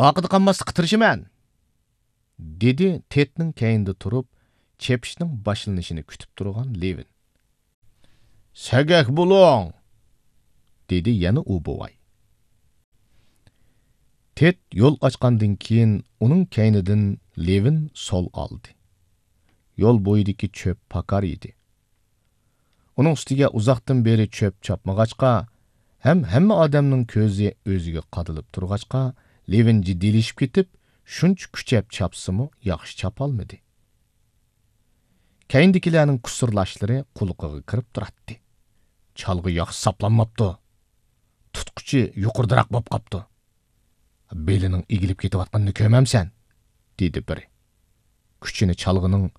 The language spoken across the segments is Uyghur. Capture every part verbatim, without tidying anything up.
ئارقىدا قالماسلىققا تىرىشىمەن، دېدى تېدنىڭ كەينىدە تۇرۇپ، چېپىشنىڭ باشلىنىشىنى كۈتۈپ تۇرغان لېۋىن. سەگەك بولۇڭ! دېدى يەنە ئۇ بوۋاي. تېد يول ئاچقاندىن كېيىن، ئۇنىڭ كەينىدىن لېۋىن سول ئالدى. يول بويىدىكى چۆپ پاكار ئىدى. ئۇنىڭ ئۈستىگە ئۇزاقتىن بېرى چۆپ چاپمىغاچقا، ھەم ھەممە ئادەمنىڭ كۆزى ئۆزىگە قادىلىپ تۇرغاچقا، لېۋىن جىددىيلىشىپ كېتىپ، شۇنچە كۈچەپ چاپسىمۇ ياخشى چاپالمىدى. كەينىدىكىلەرنىڭ كۇسۇرلاشلىرى قۇلىقىغا كىرىپ تۇراتتى. چالغى ياخشى ساپلانماپتۇ. تۇتقۇچى يۇقىرىدىراق بولۇپ قاپتۇ. بېلىنىڭ ئېگىلىپ كېتىۋاتقىنىنى كۆرمەمسەن؟ دېدى بىرى. كۈچىنى چالغىنىڭ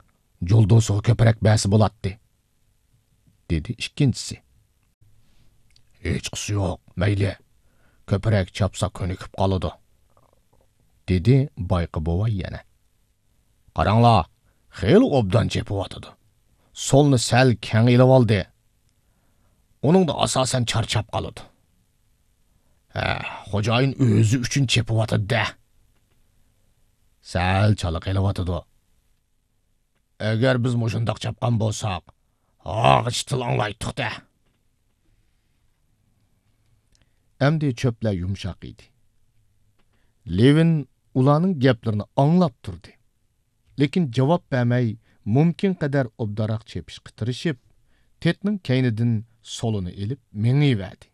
جۇلدۇسىغا كۆپرەك بەرسە بولاتتى، دېدى ئىككىنچىسى. ھېچقىسى يوق، مەيلى. كۆپرەك چاپسا كۆنۈكۈپ قالىدۇ، دېدى بايقى بوۋاي يەنە. قاراڭلار، خېلى ئوبدان چېپىۋاتىدۇ. سولنى سەل كەڭ ئېلىۋالدى. ئۇنىڭدا ئاساسەن چارچاپ قالىدۇ. ھە، خوجايىن ئۆزى ئۈچۈن چېپىۋاتىدۇ-دە. سەل چالا قېلىۋاتىدۇ. ئەگەر بىز مۇشۇنداق چاپقان بولساق، ھاغىچ تىلىڭلايتتۇق-دە. ئەمدى چۆپلەر يۇمشاق ئىدى. لېۋىن ئۇلارنىڭ گەپلىرىنى ئاڭلاپ تۇردى. لېكىن جاۋاب بەرمەي، مۇمكىن قەدەر ئوبدانراق چېپىشقا تىرىشىپ، تېدنىڭ كەينىدىن سولىنى ئېلىپ مېڭىۋەردى.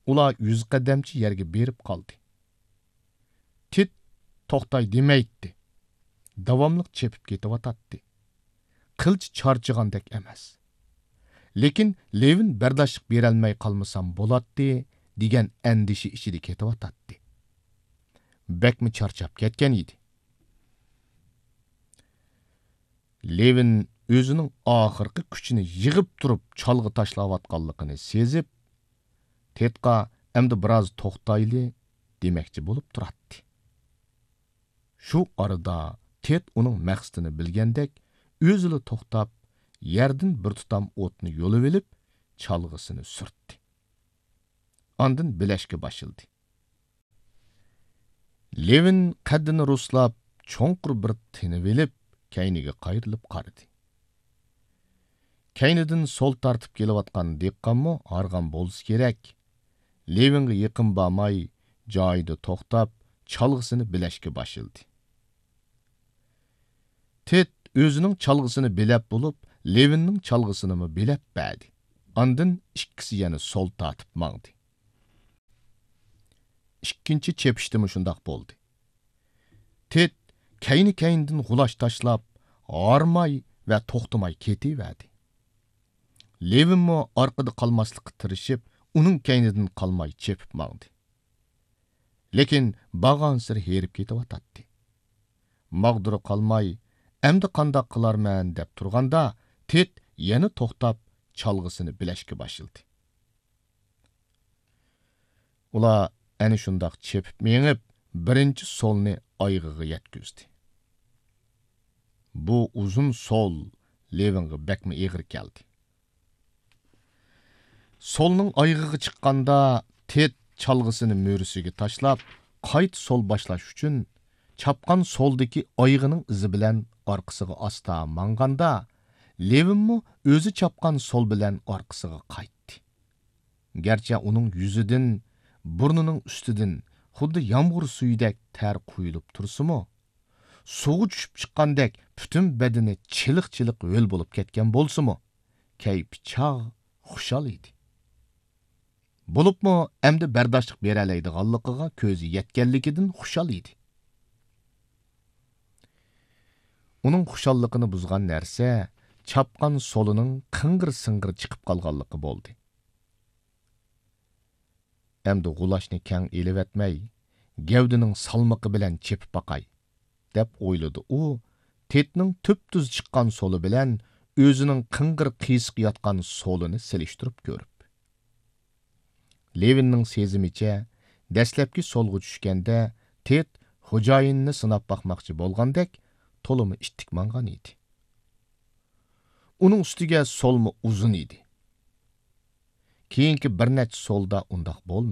ئۇلار يۈز قەدەمچە يەرگە بېرىپ قالدى. تېد توختاي دېمەيتتى. داۋاملىق چېپىپ كېتىۋاتاتتى. قىلچە چارچىغاندەك ئەمەس. لېكىن لېۋىن بەرداشلىق بېرەلمەي قالمىسام بولاتتى، دېگەن ئەندىشە ئىچىدە كېتىۋاتاتتى. بەكمۇ چارچاپ كەتكەن ئىدى. لېۋىن ئۆزىنىڭ ئاخىرقى كۈچىنى يىغىپ تۇرۇپ چالغا تاشلاۋاتقانلىقىنى سېزىپ، تېدقا ئەمدى بىراز توختايلى دېمەكچى بولۇپ تۇراتتى. شۇ ئارىدا تېد ئۇنىڭ مەقسىتىنى بىلگەندەك، ئۆزىلا توختاپ، يەردىن بىر تۇتام ئوتنى يۇلۇۋېلىپ، چالغىسىنى سۈرتتى. ئاندىن بىلەشكە باشلىدى. لېۋىن قەددىنى رۇسلاپ، چوڭقۇر بىر تىنىۋېلىپ، كەينىگە قايرىلىپ قارىدى. كەينىدىن سول تارتىپ كېلىۋاتقان دېھقانمۇ ھارغان بولسا كېرەك، لېۋىنغا يېقىن بارماي، جايىدا توختاپ، چالغىسىنى بىلەشكە باشلىدى. تېد ئۆزىنىڭ چالغىسىنى بىلەپ بولۇپ، لېۋىننىڭ چالغىسىنىمۇ بىلەپ بەردى. ئاندىن ئىككىسى يەنە سول تارتىپ ماڭدى. ئىككىنچى چېپىشتىمۇ شۇنداق بولدى. تېد كەينى-كەينىدىن غۇلاچ تاشلاپ، ھارماي ۋە توختىماي كېتىۋەردى. لېۋىنمۇ ئارقىدا قالماسلىققا تىرىشىپ، ئۇنىڭ كەينىدىن قالماي چېپىپ ماڭدى. لېكىن بارغانسېرى ھېرىپ كېتىۋاتاتتى. ماغدۇرى قالماي، ئەمدى قانداق قىلارمەن دەپ تۇرغاندا، تېد يەنە توختاپ، چالغىسىنى بىلەشكە باشلىدى. ئۇلار ئەنە شۇنداق چېپىپ مېڭىپ، بىرىنچى سولنى ئايىغىغا يەتكۈزدى. بۇ ئۇزۇن سول لېۋىنغا بەكمۇ ئېغىر كەلدى. سولنىڭ ئايىغىغا چىققاندا، تېد چالغىسىنى مۈرىسىگە تاشلاپ، قايتا سول باشلاش ئۈچۈن، چاپقان سولدىكى ئايىغىنىڭ ئىزى بىلەن ئارقىسىغا ئاستا ماڭغاندا، لېۋىنمۇ ئۆزى چاپقان سول بىلەن ئارقىسىغا قايتتى. گەرچە ئۇنىڭ يۈزىدىن، بۇرنىنىڭ ئۈستىدىن خۇددى يامغۇر سۈيىدەك تەر قۇيۇلۇپ تۇرسىمۇ، سۇغا چۈشۈپ چىققاندەك پۈتۈن بەدىنى چىلىق-چىلىق ھۆل بولۇپ كەتكەن بولسىمۇ، كەيپى چاغ، خۇشال ئىدى. بولۇپمۇ ئەمدى بەرداشلىق بېرەلەيدىغانلىقىغا كۆزى يەتكەنلىكىدىن خۇشال ئىدى. ئۇنىڭ خۇشاللىقىنى بۇزغان نەرسە چاپقان سولىنىڭ قىڭغىر-سىڭغىر چىقىپ قالغانلىقى بولدى. ئەمدى غۇلاچنى كەڭ ئېلىۋەتمەي، گەۋدىنىڭ سالمىقى بىلەن چېپىپ باقاي، دەپ ئويلىدى ئۇ، تېدنىڭ تۈپتۈز چىققان سولى بىلەن ئۆزىنىڭ قىڭغىر قىيسىق ياتقان سولىنى سېلىشتۇرۇپ كۆرۈپ. لېۋىننىڭ سېزىمىچە، دەسلەپكى سولغا چۈشكەندە تېد خوجايىنىنى سىناپ باقماقچى بولغاندەك، تولىمۇ ئىتتىك ماڭغان ئىدى. ئۇنىڭ ئۈستىگە سولمۇ ئۇزۇن ئىدى. كېيىنكى بىر نەچچە سولدا ئۇنداق بولمىدى.